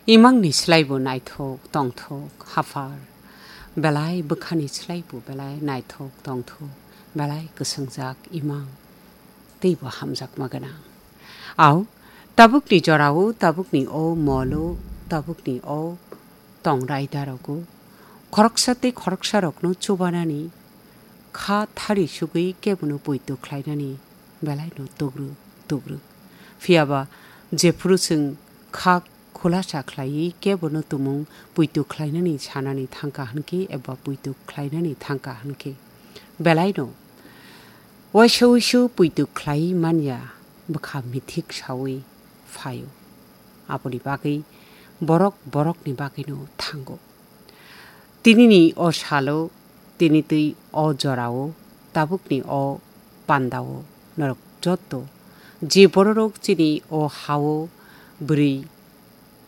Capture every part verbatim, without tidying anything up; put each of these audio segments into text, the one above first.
Imangni slaibo naithok tongthok haphar, belai bwkhani slaibo belai naithok tongthok, belai kwswngjak imang teibo hamjakma gwnang. Au, tabukni jorao, tabukni o molo, tabukni o tongrai darogo, khoroksa tei khoroksarokno chubanani, kha thari sugwi kebono poito khlainani belaino tugruk tugruk. Phiyaba jephuru chwng kha khulasa khlaiwi kebono tumung poito khlainani sanani thangkha hwnkhe eba poito khlainani thangkha hwnkhe, belaino waisa uisu poito khlaiwi manya bwkha mithik saui phaio. Aboni bagwi borok borokni bagwino thango. Tinini o salo, tini twi o jorao, tabukni o pandao norok jotto je bororok chini o hao bwrwi,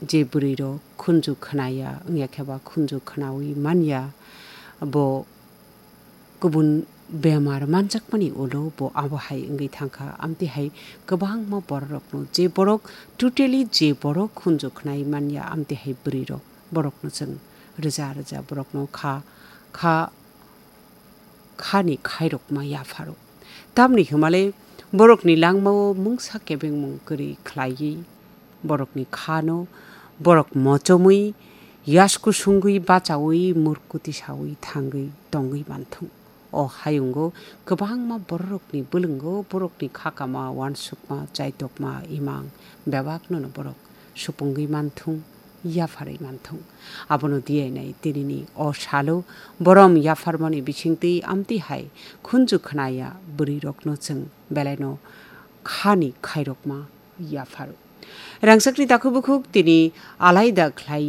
je bwrwirok khunju khnaya wngya khe ba khunju khnaui manya, bo kubun bemar manjakmani ulo bo abo hai wngwi thangkha. Amtwi hai kwbangma bororokno, je borok totally je borok khunju khnai manya, amtwi hai bwrwirok, borokno chwng rwja rwja borokno kha, kha, khani khairokma yapharo. Tamni hwnmale borokni langmao mungsa kebengmung kwrwi khlaiwi borokni khano borok mochomwi, yasku sungwi, bachaui, murkuti saui thangwi tongwi manthung. O hayungo kwbangma bororokni bwlwngo borokni khakama, uansukma, chaitokma, imang bebaknono borok supungwi manthung, yapharwi manthung. Abono diyainai tinini o salo borom yapharmani bisingtwi amtwi hai khunju khnaya bwrwirokno chwng belaino khani khairokma yapharo. Rangchakni takhuk bukhuk tini alaida khlai